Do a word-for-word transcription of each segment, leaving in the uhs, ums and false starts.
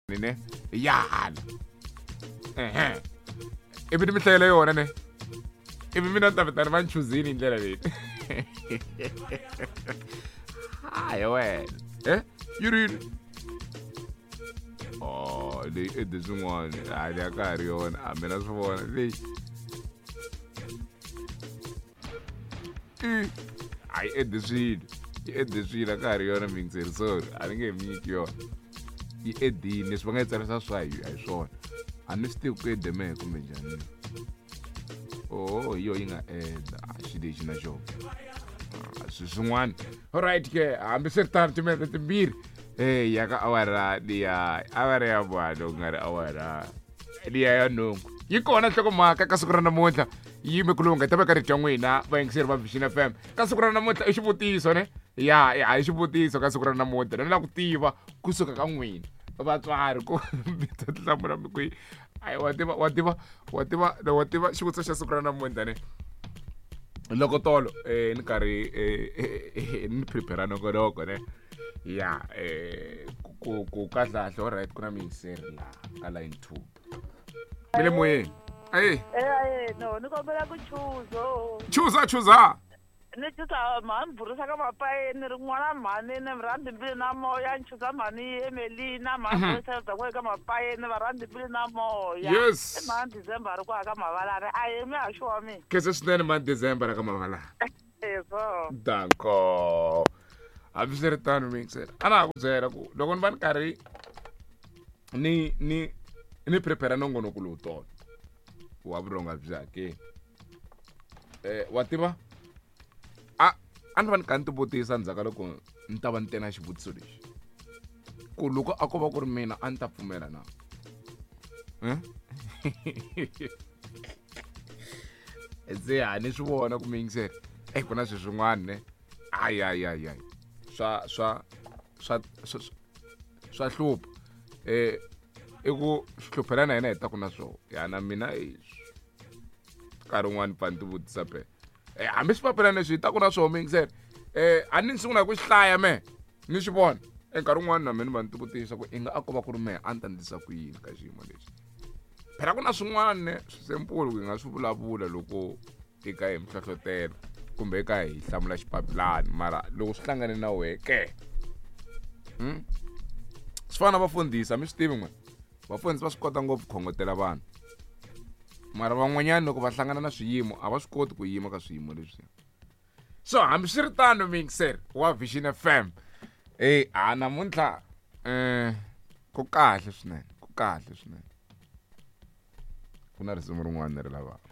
Ne ya hala ehe ivi ni mi hlayela yona ne ivi mina ni ta vitana va ni chuzini hi ndlela leyi hayi wena e yi rini oh leyi ede swin'wana hayi a ka ha ri yona a mina swi vona leyi i hayi ede swilo yi ede swilo a ka ha ri yona mingiseri sorry a ni nge mi nyiki yona yi edini leswi va nga yi tsarisa swa hi a hi swona a ni swi tivi ku ede mehe kumbe njhani oh hi yo yi nga eda a xi lexi na xona swilo swin'wana alright ke hambiswiritano timinete timbirhi e ya ka awara liya awara ya vano ku nga ri awara liya ya nhungu yi kona nhlokomhaka ka siku ra namuntlha yi yime ku lungha yi ta veka rito ya n'wina vayingiseri va Vision F M ka siku ra namuntlha i xivutiso ne ya a hi xivutiso ka siku ra namuntlha ni lava ku tiva kusuka ka n'wina vatswari ku mi ta hlamula mi ku ayi wa tiva wa tiva wa tiva wa tiva xivutiso xa siku ra namuntlha ne loko tolo eh ni karhi eh ni prepare nongonoko ne ya eh ku ku kahle kahle alright ku na miyingiseri laha ka line two mi le moyeni ayi Eh, no, ni kombela ku chuza. chuza chuza Ni chuza mhani burisa ka mapayeni ri n'wana mhani ni rhandzi mbilu na moya ni chuza mhani Emelina mhani burisa bya n'we ka mapayeni va rhandzi mbilu na moya. Yes. I mhani December ri ku aka mavalani a yimi a xi wa mina. khensa swinene mhani December ka mavalani Eso. danko hambiswiritano miyingiseri a na ha ku byela ku loko ni va ni karhi ni ni ni prepare nongonoko lowu tolo wa vurhonga byi hakeli eh wa tiva a a ni va ni kha ni ti vutisa ndzhaku ka loko ni ta va ni te na xivutiso lexi ku loko a ko va ku ri mina a ni ta pfumela na Eh? se ha ni swi vona ku miyingiseri e ku na swilo swin'wana ne hayi hayi hayi hayi swa swa swa swa swa hlupha eh i ku swi hluphela na hina hi ta ku na swona ya na mina nkarhi wun'wani pfa ni ti vutisa phela eh hambi swi papila leswi hi ta ku na swona miyingiseri eh a ni sungula hi ku xi hlaya me ni swi vona e nkarhi wun'wani na mina ni va ni ti vutisa ku i nga a ko va ku ri mehe a ni ta ndlisa ku yini ka xiyimo lexi phela ku na swin'wana ne swi simple ku hi nga swi vulavula loko i ka hi mihlohlotelo kumbe eka hi hlamula xipapilani mara loko swi hlangane na wehe ke hmm? Swi fana na vafundhisi a mi swi tivi n'we vafundhisi va swi kota ngopfu khongotela vanhu mara van'wanyana loko va hlangana na swiyimo a va swi koti ku yima ka swiyimo leswiya so hambiswiritano miyingiseri wa Vision F M e a namuntlha um ku kahle swinene ku kahle swinene ku na risimu rin'wana ri lavaka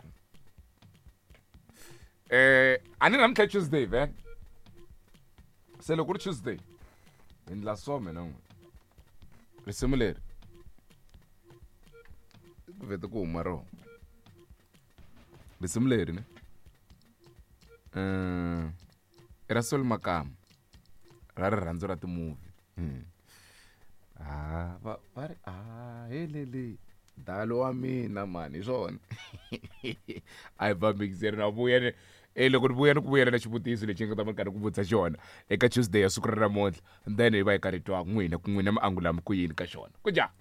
eh a ni namuntlha Tuesday vhele se loko ku ri Tuesday hi ndla so mina n'we risimu leri ku vhete ku huma rona risimu leri ne um i ra Sol Makama ra rirhandzu ra timovie ha va va ri a helele dalo wa mina mani hi swona a hi vambikiseri na vuya ni e loko ni vuya ni ku vuyela na xivutiso lexi nga ta va ni karhi ku vutisa xona eka Tuesday ya siku ra namuntlha then hi va hi karhi twa n'wina ku n'wina mi angula mi ku yini ka xona ku njhani.